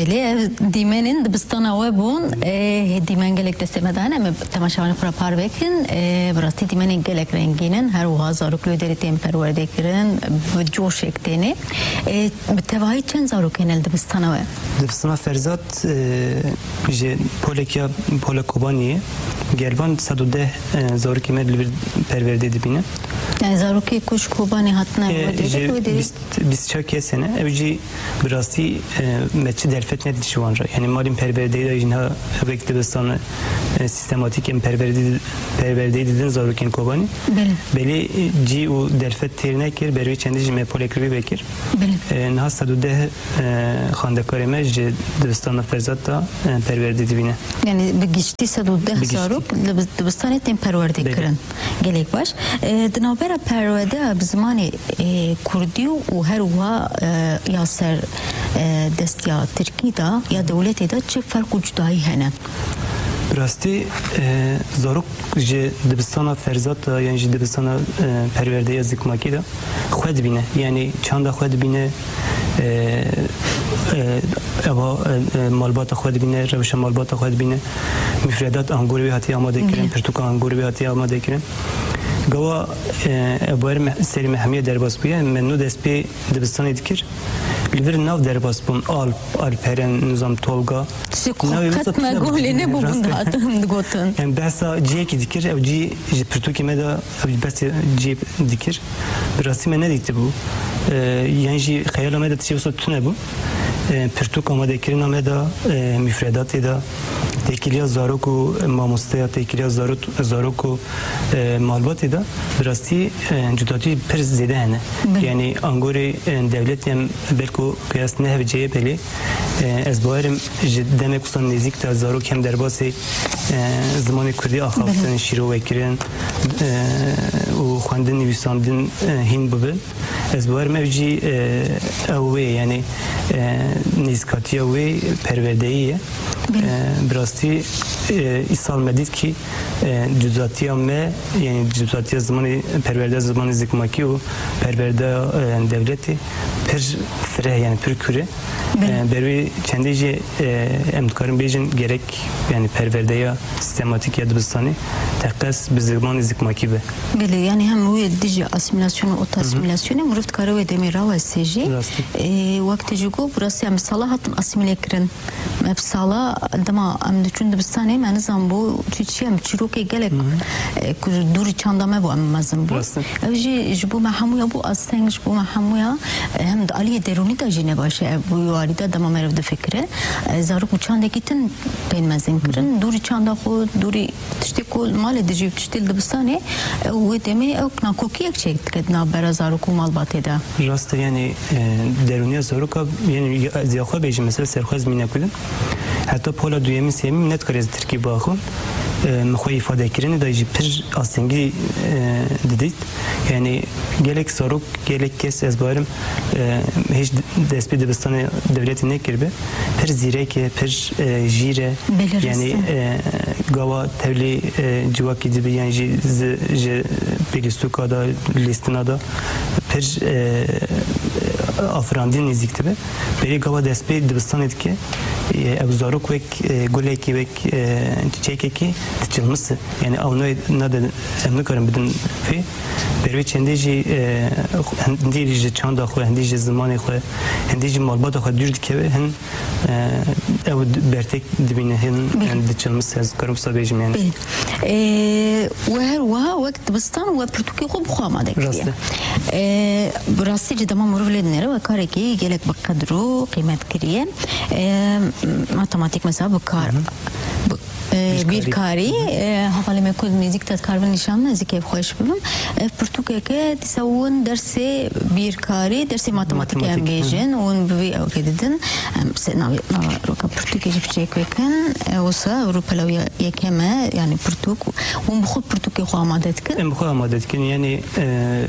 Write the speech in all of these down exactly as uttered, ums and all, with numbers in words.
Belê, ev dîmenên dibistana we bûn. Ê, dîmen gelek destê me de hene, em ê temaşevanên xwe re parve bikin. Ê, bi rastî dîmenên gelek rengîn in. Her wiha zarok li wê derê tên perwerde kirin, bi coşek têne. Ê, bi tevahî çend zarok hene li dibistana we? Dibistana Ferzat, e, ji polek ya, pola Kobaniyê, gel van sed û deh, e, zarokê me li vir perwerdê dibîne. Yani zarokê ku ji Kobanê hatine, e, we dê ji wê derê? Bîst, bîst çar kes hene. Ew jî bi rastî, e, me çi derfet nedît ji wan re. Yani malên perwerdeyê de jî niha wek dibistan, e, sîstematîk em perwerdê, perwerdeyê didin zarokên Kobanê. Belê. Belê, e, cî û derfet têr nekir, ber wê çendî jî me polek li vê vekir. Belê. E, niha sed û deh, e, xwendekarê me ji dibistana Ferzat de, e, perwerdê dibîne. Yani bi giştî sed û deh zarok li bi-, dibistanê tên perwerdê kirin. Gelek baş. E, di navbera perwerdeya bi zimanê, e, kurdî û her wiha, e, ya ser, e, destiya tirkî de ya dewletê de çi ferq û cudayî hene? Bi rastî, e, zarok ji dibistana Ferzat de yan jî dibistana, e, perwerdeya zikmakî de xwe dibîne. Yani çanda xwe dibîne, e, e, eva, e, e, malbata xwe dibîne, rewşa malbata xwe dibîne. Mufredat angorê wê hatiye amade kirin, pirtûka angorê wê hatiye amade kirin. Gawa, e, ev ber me-, serî me hemiye derbas bûye, me nû dest pê dibistanê dikir. Li vir nav derbas bûn, Alp, Alperen, nizam Tolga. Tiştê ku qet me guh lê nebûbûn dihatin digotin. Em behsa cihekî dikir, ew cî ji pirtûkê me de, ew behsê cihê dikir. Bi rastî me nedîtibû. E, yan jî xeyala me de tiştê wisa tune bû. E, pirtûk amadekirina me de, e, mufredatê de, têkiliya zarok û mamosteya têkiliya zarok, zarok û, e, malbatê de bi rastî, e, cudatî pir zêde hene. Belê. Yani angorê, e, dewletê em belku qiyas nehevceye belê. E, ez bawerim ji demek wisa nêzîk de zarok hem derbasê, e, zimanê kurdî axaftin, şîrove kirin, e, û xwendin, nivîsandin, e, hîn bibin. Ez bawerim ev jî, e, ew wê, yani, e, nêzîkatiya wê perwerdeyî ye. Belê. E, bi rastî, e, îsal me dît kî, e, cudatiya me, yani cudatiya zimanê, perwerdeya zimanê zikmakî û perwerdeya, e, dewletê pir fireh, yani pir kûr e. Belê. E, ber wê çendê jî, e, em dikarin bêjin gerek, yani perwerdeya sîstematîk ya dibistanê teqez bi zimanê zikmakî be. Belê, yani hem wê dijî asîmîlasyon û otasîmîlasyonê mirov dikare wê demê raweste jî. Rast e. Ê, wek te jî got, bi rastî em bi sala hatin asîmîle kirin. Me bi sala dema em diçûn dibistanê, me nizanbû çi çi ye, em çîrokê gelek, e, ku dûrî çanda me bû, em mezin bûn. Rast e. Ev jî ji bo me hemûya bû asteng, ji bo me hemûya, e, hem di aliyê derûnî de jî ne baş e, ev bi wî warî de dema meriv difikire. E, zarok bi çandekî tin tên mezin kirin. Dûrî çanda xwe, dûrî tiştê ku li malê dijî û tiştê li dibistanê, ew wê demê ew nakokiyek çêk dike di navbera zarok û malbatê de. Rast e, yani, e, derûniya zaroka, yani, ez ya xwe bêjim, mesela serxwez mîna ku din. Heta pola duyemîn, sêyemîn ne dikare ez tirkî biaxivim. E, min xwe îfadekirinê de jî pir astengî, e, didît. Yani, gelek zarok, gelek kes ez bawerim, e, hêj dest pê dibistanê dewletê nekiribe. Pir zîrek e, pir, e, jîr e. Belê, rast e. Yani, e, gawa tevlî, e, civakî dibe, yan jî zi-, ji pêlîstûka de, lîstina de pir, e, afirandî nêzîk dibe. Berê gawa dest pê dibistanê dike, e, ew zarok wek, e, gulekî, wek, e, çiçekekî diçilmise. Yani ew ne, nade, em nikarin bidin fê. Ber wê çendê jî, e, hindî ji çanda xwe, hindî ji zimanê xwe, hindî ji malbata xwe dûr dikeve, hin, e, ew bertek dibîne, hin, hin diçilmise, ez karim wisa bêjim yani. Belê. E, we her wiha wek dibistan we pirtûkê xwe bi xwe amade kiriye. Rast e. E, bi rastî jî dema mirov lê dinêre we karekî gelek bi qedir û qîmet kiriye. E, matematîk mesela bi kar, bi E, bîrkarî. Bîrkarî, e, hevalê me ku nêzîk te dikaribin nîşan bidin, ez ê kêfxweş bibim. Ev pirtûkeke dîsa win dersê bîrkarî, dersê matematîkê em bêjin, win bi vî ewkê didin. Em se navê, nava roka pirtûkê jî piçek vekin. E, wisa ew rûpela wî yekem e, yani pirtûk. Hûn bi xwe pirtûkê xwe amade dikin? Em bi xwe amade dikin, yani, e,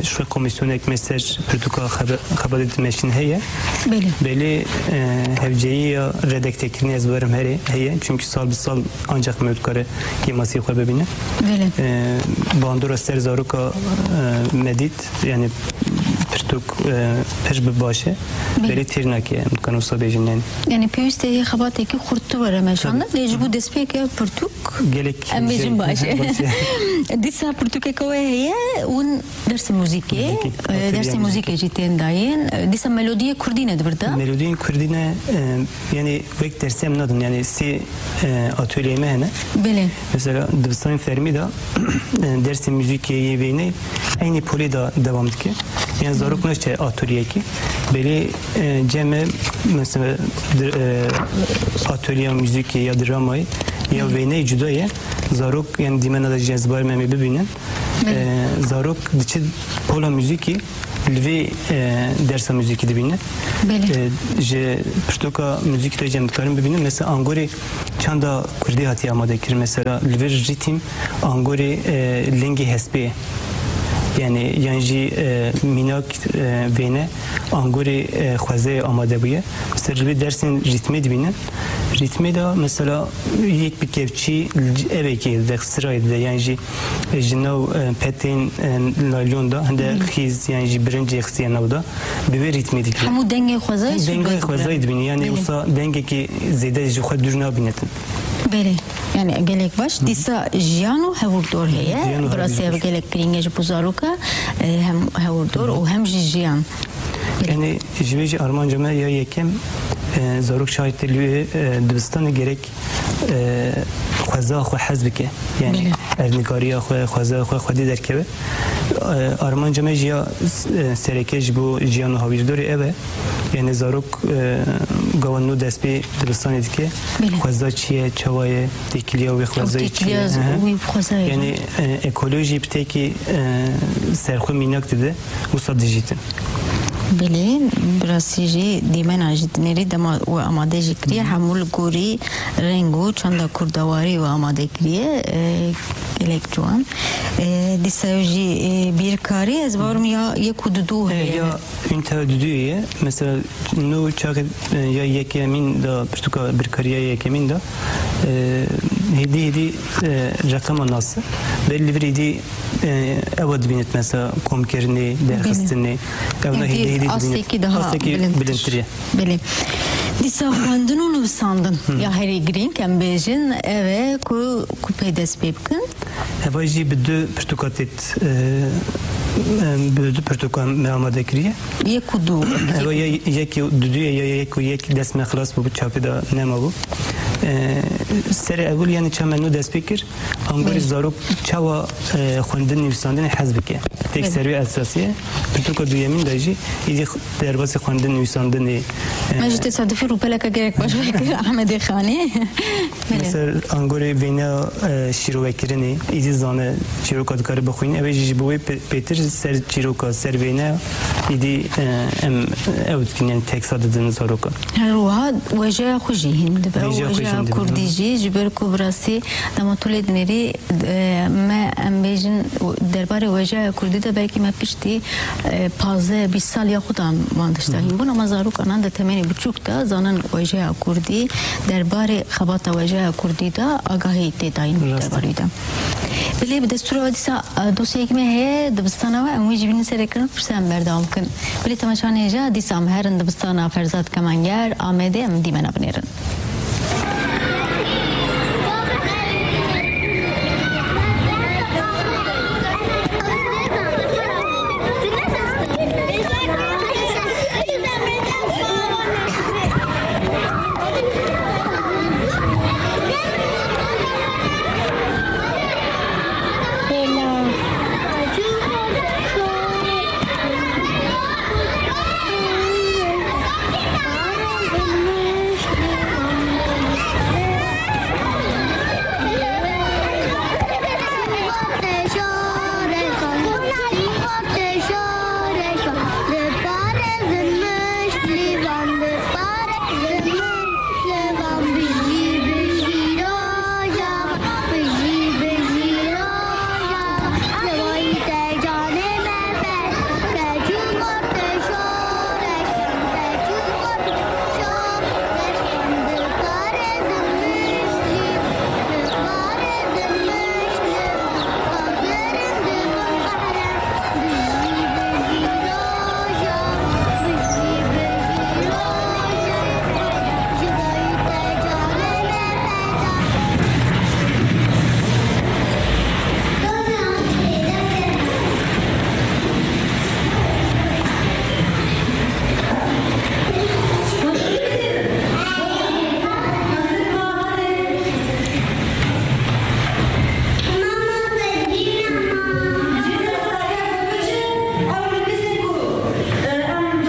ji xwe komîsyonek me ser pirtûka xebe-, xebata dimeşin heye. Belê. Belê, e, hevceyî ya redaktekirinê ez werim herê heye. Çünkü sal bi sal ancak me dikare kêmasî xwe bibîne. Belê. E, bandora ser zaroka, e, me dît, yani pirtûk, e, pir bi baş e. Belê. Belê têr nake, em dikarin wisa bêjin, yani. Yani pêwîst e xebatekî xurttir were meşandin. Tabii. Lê ji bo destpêkê pirtûk gelek em bêjin baş e. Baş e. Dîsa pirtûkeke we heye, hûn dersê muzîkê, muzîkî, e, dersê muzîkê jî tên dayîn. E, dîsa melodiyê kurdî ne di vir de? Melodiyên kurdî ne, e, yani wek dersê em nadin, yani sê, e, atölyeyê me hene. Belê. Mesela dibistanên fermî de, e, dersê muzîkê yê vêneyê eynî polê de dewam dike. Yani zarok naşte atolyeyekî. Belê, e, cem e, mesela, dir-, e, atölyeya muzîkê ya dramayê ya vêneyê cuda ye. Zarok, yani dîmena de jî ez bawer me em ê bibînin. Belê. E, zarok diçe pola muzîkê, li vê, e, dersa muzîkî dibîne. Belê. E, ji pirtûka muzîkî de jî em dikarin bibînin. Mesela angorê çanda kurdî hatiye amade kirin. Mesela li vir rîtm angorê, e, lingê hespê ye. Yani yan jî, e, mînak, e, vêne angorê, e, xwezayê amade bûye. Mesela li vê dersên rîtmê dibînin. Rîtmê de mesela yek bi kevçî evekê de, sirayê de, yan jî ji nav, e, petên, e, naylon de hinde xîz yan jî birincê xistiye nav de, bi vê rîtmê dikir. Hemû dengê xwezayê Hemû dengayê xwezayê dibîne. Yani wisa dengekî zêde ji xwe dûr nabînetin. Belê. Yani gelek baş. Dîsa jiyan û hewrdor heye. Jiyan û Bi rastî ev hewrdor. Gelek girîng e ji bo zaroka, e, hem hewrdor û hem jî jiyan. Yani ji vê jî armanca me ya yekem, e, zarok şahitê li, e, dibistanê gerek e, xweza xwe hez bike. Yani Belê. Erdnîgariya xwe, xweza xwe xwedî derkeve. E, armanca me jî ya, e, sereke ji bo jiyan û hawîrdorê ev e. Yani zarok, e, gava nû dest pê dibistanê dike. Belê. Xweza çi ye, çawa ye, têkiliya wê xwezayê çi ye? Têkiliya Hı hı. wî xwezayê. Yani, e, ekolojî bi tekî, e, serxwe mînak dide, wisa dijîtin. Belê, bi rastî jî dîmena jî dinêrî dema we amade jî kiriye, Hı hı. hemû li gorî reng û çanda kurdawarî we amade kiriye, e, gelek ciwan. E, dîsa ew jî, e, bîrkarî, ez bawerim ya yek û dudu E, heye. Ya ünite dudu ye. Mesela nû çaxê, e, ya yekemîn de, pirtûka bîrkariya yekemîn de, e, hêdî hêdî, e, reqema nas e. Belê li vir hêdî e, ewa dibînit mesela komkirinê, derxistinê. Ew ne Hêdî hêdî hêdî dibînit. Astekî daha Astekî bilindtir. Bilindtir e. Belê. Dîsa xwendin û nivîsandin ya herî girîng em bêjin ev e ku, ku pê dest pê bikin. Eva jî bi du pirtûka têt, e, em, bi du pirtûka me amade kiriye. Yek û du. Eva ya yek û du ye ya yek û yek dest me xilas bû, çapê de nema bû. E, serê ewil yani çamen nû dest pê kir. Angorê Belê. Zarok çawa, e, xwendin nivîsandinê hez bike. Tek Belê. Serî esasî ye. Pirtûka duyemîn de jî îdî x-, derbasî xwendin nivîsandinê, e, Me jî tesadufî rûpeleke gelek baş vekir Ahmedê Xanê. Belê. Mesela angorê vêneya, e, şîrovekirinê îdî zane çîroka dikare bixwîne. Ew ê jî ji bo wê pê-, pêtir ser çîroka, ser vêneya îdî, e, em ew dikin, yani teksa didin zaroka. Her wiha wejeya xwe jî hîn dibe. Wejeya xwe jî Wejeya hîn dibe. Kurdî jî, ji ber ku bi rastî dema tu lê dinêrî, e, me, em bêjin, derbarê wejeya kurdî de belkî me piştî, e, pazdeh bîst sal ya xwe de van tişta Hı hı. hîn bûn, ama zarokanan di temenê biçûk de zanin wejeya kurdî, derbarê xebata wejeya kurdî de agahî tê dayîn Rast e. derbarê de. Belê bi destûra we dîsa, e, dosyayekî me heye, dibistana we, em wî jî bînin serê kirin, pirsa em berdewam bikin. Belê temaşevanên hêja, dîsa em herin dibistana Ferzad Kemanger, Amedê, em dîmena binêrin.